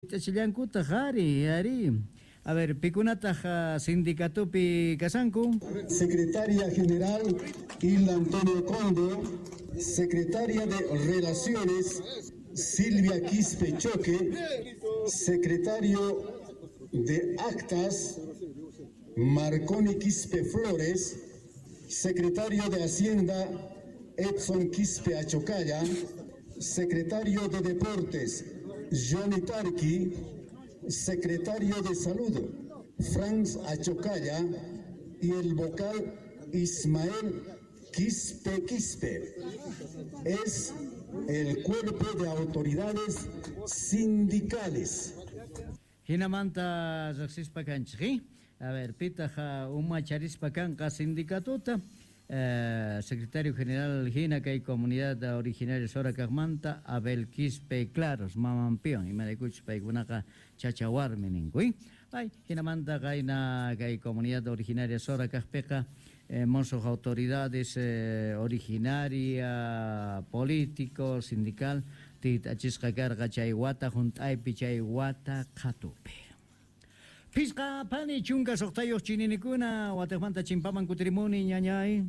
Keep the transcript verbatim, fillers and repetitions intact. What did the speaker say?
T'ichillankutaq ari, ari. A ver, pikunataq sindicatupi kasanku? Secretaria General Hilda Antonio Conde, Secretaria de Relaciones Silvia Quispe Choque, Secretario de Actas Marconi Quispe Flores, Secretario de Hacienda Edson Quispe Achocalla, Secretario de Deportes Johnny Tarqui, Secretario de Salud Franz Achocalla y el vocal Ismael Quispe Quispe. Es el cuerpo de autoridades sindicales. Hinamanta riqsispa kanchik, a ver, pitaq umacharispa kanqa sindicatuta, eh, secretario general hina kay comunidad originaria Sora kaqmanta Abel Quispe Claros, mamanpiwan, imaraykuchus paykunaqa chachawarmi ninku, ay, hinamanta qayna kay comunidad originaria Sora kaqpiqa eh, musuq autoridades eh, originaria, político, sindical, tit'achisqa karqa chay wata hunt'aypi chay wata qhatupi. Phisqa phani chunka suqtayuq chininikuna wataqmanta chimpaman kutirimuni, ñañay.